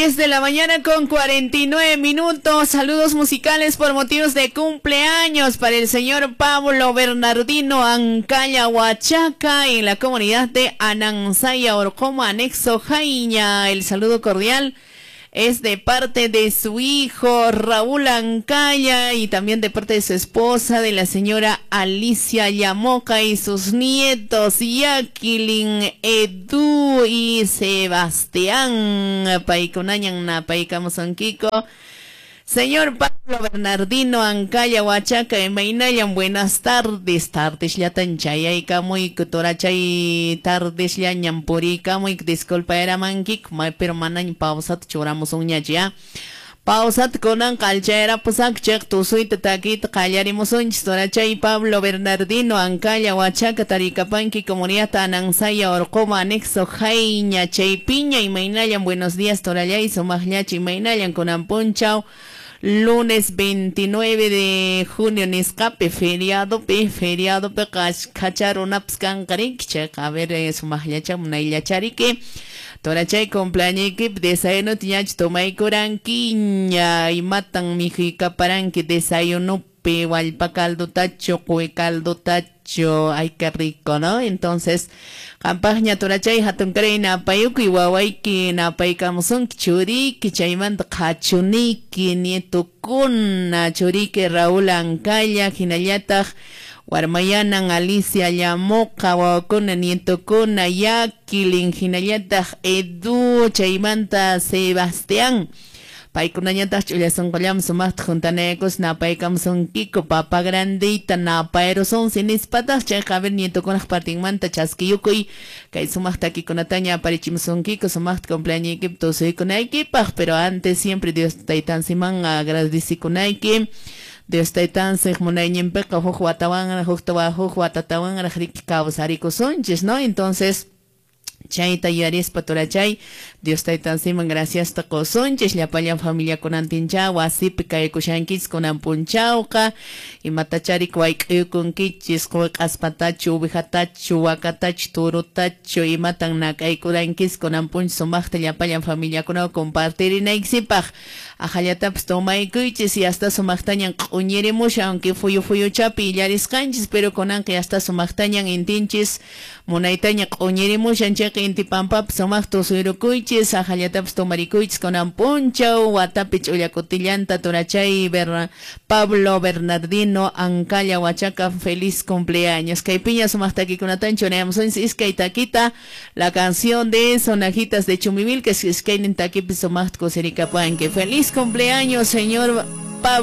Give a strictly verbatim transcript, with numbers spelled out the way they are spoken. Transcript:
diez de la mañana con cuarenta y nueve minutos. Saludos musicales por motivos de cumpleaños para el señor Pablo Bernardino Ancalla Huachaca en la comunidad de Anansaya, Orcoma, anexo Jaiña. El saludo cordial es de parte de su hijo Raúl Ancalla y también de parte de su esposa, de la señora Alicia Yamoca, y sus nietos Jacqueline, Edu y Sebastián. Paykunañan napaykamusunkiku. Señor Pablo Bernardino Ancalla Huachaca, imaynayan, buenas tardes, tardes llatan chayaykamuyku, torachay tardes llañan puriykamuyku, disculpa eramankik, pero manañ pausata churamusunñachu ya. Pausata kunanqa alchayarapusak chayqa tusuyta takiyta qallarimusunchis. Torachay Pablo Bernardino Ancalla Huachaca, tarikapanki comunidad Anansaya, Orcoma, anexo Jaiña, chaypiña, imaynallan, buenos días, torallay, sumaqllachu, imaynallan, kunan punchaw. Lunes veintinueve de junio nisqapi feriado pi feriado pi qhacharunapas kanqarinki chayqa, a ver sumaqllacha munayllachariki. Torachay cumpleañuykipi desayunuta ñachu tomaykurankiña, imatan mikhuykaparanki desayunupi, wallpa caldutachu, quwi caldutachu, ay qué rico, ¿no? Entonces, qampaqña torachay hatunkaray napayukuy wawayki napaykamusunki churiyki, chaymanta qhachuniyki nietukuna, churiyki Raúl Ancalla, hinallataq warmayanan Alicia Llamoqa, wawakuna nietukuna Jacqueline, hinallataq Edu, chaymanta Sebastián. Paykunañataq ch'ullasunqullam sumaqta juntanaykus napaykamusunkiku papa grandita napayrusunsi nispataq chayqa, a ver nietukunaq partinmanta chaskiyukuy kay sumaq takikunataña aparichimusunkiku sumaqta cumpleañuykipi tusuykunaykipaq. Pero antes siempre Dios taytansiman agradecikunayki. Dios taytansiq munayninpiqa huk watawanraq huk huk watatawanraq riki kawsarikusunchis, ¿no? Entonces chayta yuyarispa torachay Dios taytansiman graciasta qusunchis llapallan familiakunantincha wasipi kaykushankichis kunan punchawqa, imatachari wayk'uykunkichis quwi q'aspatachu uwihatachu wakatachu turutachu imatan nak'aykurankichis kunan punchaw sumaqta llapallan familiakunawan compartirinaykisipaq. Ajallatapas tomaykuychis y hasta sumaqtañan q'uñirimushan, aunque fuyu fuyuchapi illarisqanchis, pero kunanqa hasta sumaqtañan intinchis munaytaña q'uñirimushan chayqa inti pampapi sumaqta tusuyrukuychis, ajallatapas tomarikuychis kunan punchaw watapi ch'ullakutillanta. Torachay Berna, Pablo Bernardino Ancalla Huachaca, feliz cumpleaños. Kaypiña sumaq takikunatan churayamusunchis iskay takita, la canción de Sonajitas de Chumbivilcas, iskaynin takipi sumaqta kusirikapanki. Feliz cumpleaños, señor